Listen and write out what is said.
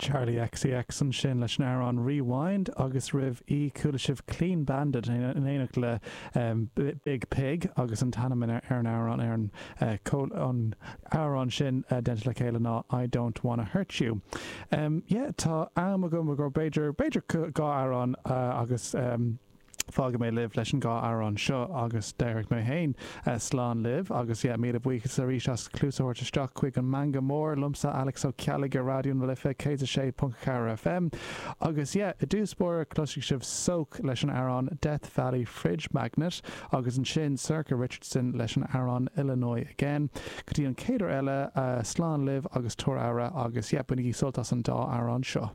Charli XCX ansin leis an amhrán Rewind agus roimh í chuala sibh Clean Bandit in éineacht le Biig Piig agus an t-ainm ar an amhrán ar an an amhrán sin déanta le chéile ná I Don't Wanna Hurt You. Yeah tá am agam go b'fhéidir b'fhéidir 2 amhrán agus. Fágfaidh mé libh leis an dhá amhrán seo agus déarfaidh mé féin slán libh agus yeah, míle buíochas arís as cluas a thabhairt isteach chuig an Meangadh Mór liomsa Alex Ó Ceallaigh ar Raidió na Life 106.4 FM agus yeah, i dtús báire cloisfidh sibh Soak leis an amhrán Death Valley Fridge Magnet agus ansin Sorcha Richardson leis an amhrán Illinois Again. Go dtí an chéad uair eile, slán libh agus tabhair aire agus yeah, bainigí sult as an dá amhrán seo.